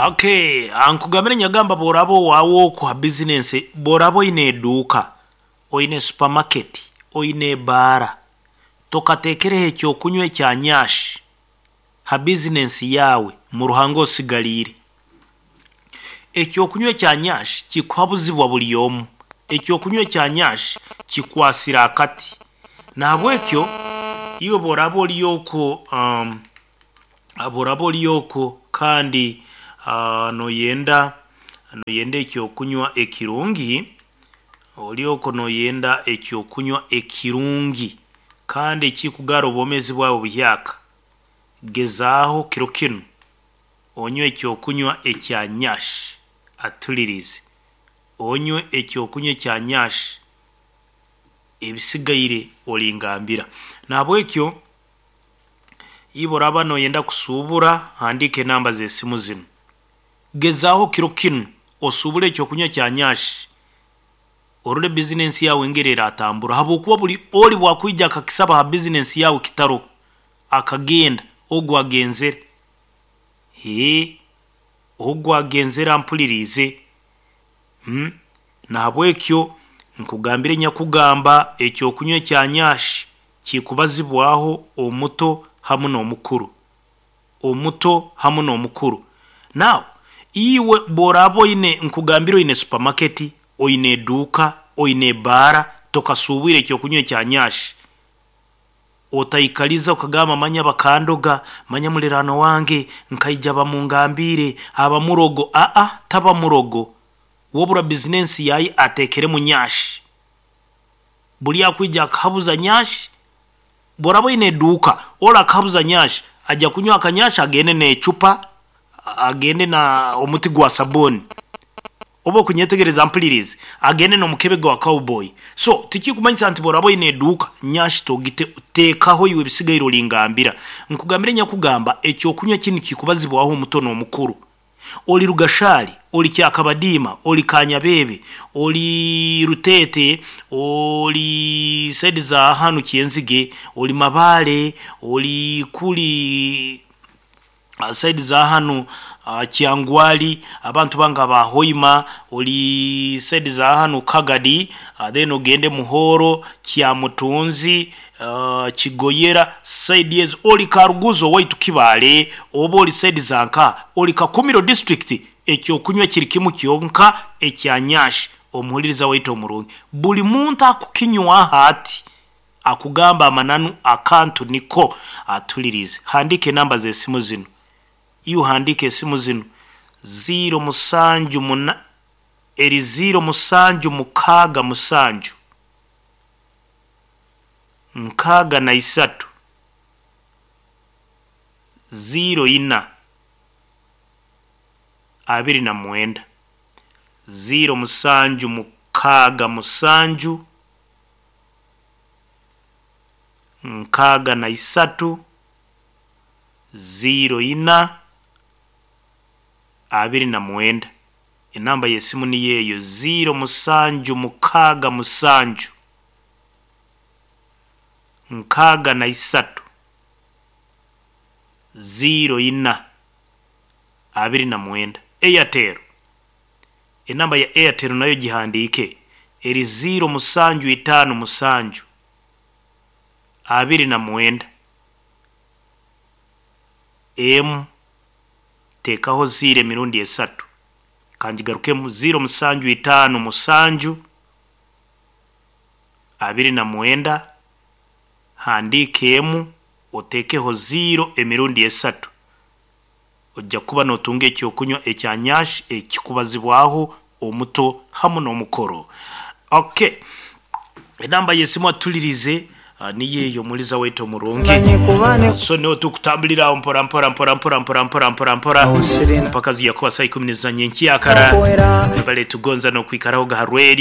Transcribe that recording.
Okay, nkugambire nyagamba bworaba owaawe oku ha bizinensi, bworaba oyine eduuka, oyine supermarket, oyine ebaara, tokateekereho ekyokunywa ekya Nyash ha bizinensi yaawe, mu Ruhanga osigaliire. Ekyokunywa ekya Nyash kikuhabuzibwa buli omu, ekyokunywa ekya Nyash kikwasire akati, nahabwekyo iwe bworaba ori oku, bworaba ori oku kandi noyenda noyenda ekyokunywa ekirungi, ori oku noyenda ekyokunywa ekirungi kandi ekikugaara obwoomeezi bwaawe buyaaaka, gezaaho kiro kinu onywe ekyokunywa ekya Nyash atulirize, onywe ekyokunywa ekya Nyash, ebisigaire oringambira. Nahabwekyo iwe obu oraaba noyenda kusuubura, handiika enamba z'esimu zinu, gezaaho kiro kinu osuubure ekyokunywa kya Nyash orole bizinesi yaawe engeri eratambura habwokuba buri ori obu akwiija akakisaba ha bizinesi yaawe kitaroho, akagenda, ogu agenzere, ogu agenzere ampuliriize, nahabwekyo nkugambire nyakugamba ekyokunywa ekya Nyash kikubazibwaaho omuto hamu nomukuru, omuto hamu nomukuru. Now iwe obu oraaba oyine nkugambire oyine supermarket, oyine eduuka, oyine ebaara, tokasuubwiire ekyokunywa ekya Nyash, otaikariza okagamba manya bakandoga, manya muliraanwa wange nkaija bamungambiire aba murogo, taba murogo, wabura bizinesi yaawe ateekeremu Nyash, buri akwiija akahabuza Nyash, obu oraaba oyine eduuka, ori akahabuza Nyash, ajya kunywa aka Nyash agende necupa, agende nomuti gwa sabuuni, oba okunyetegereza mpuliriize, agende nomukebe gwa cowboy, so tikikumanyisa nti obu oraaba oyine eduuka, Nyash togite, teekaho iwe ebisigaire oringambira. Nkugambire nyakugamba ekyokunywa kinu kikubazibwaho omuto nomukuru, ori Rugashari, ori Kyakabadiima, ori Kanyabeebe, ori Ruteete, ori side za hanu Kyenzige, ori Mabaare, ori kuri side za hanu Kyangwali, abantu bange aba Hoima, ori side za hanu Kagadi, then ogende Muhoro, Kyamutunzi, Kigoyera, side ezo, ori Karuguza owaitu Kibaale, oba ori side za nkaha, ori Kakumiro district, ekyokunywa kiri kimu kyonka ekya Nyash omuhuririza waitu omurungi. Buri muntu akukinywaho ati, akugamba amananu akantu niko atuliriize. Handiika enamba z'esimu zinu, iwe handiika esimu zinu, ziiro musanju muna, eri ziiro musanju mukaaga musanju, nkaaga na isatu, ziiro ina, 29, ziiro musanju mukaaga musanju, 63, 04, 29. Enamba y'esimu niyo eyo, ziiro musanju mukaaga musanju, 63, 04, 29. Airtel, enamba ya Airtel nayo gihandiike, eri ziiro musanju itaano musanju, 29, emu, teekaho ziiro emirundi esatu, kangigarukemu, ziiro musanju itaano musanju, 29, handiika emu, oteekeho ziiro emirundi esatu, ojya kuba notunga ekyokunywa ekya Nyash ekikubazibwaho omuto hamu nomukuru. Okay, enamba y'esimu atulirize niyo eyo omuhuriza waitu omurungi. So niho tukutambulira aho mpora mpora mpora mpora mpora mpora mpora mpora mpaka ziya kuba saa ikumi za nyenkyakara. Webale tugonza nokwikaraho ga ha rweri.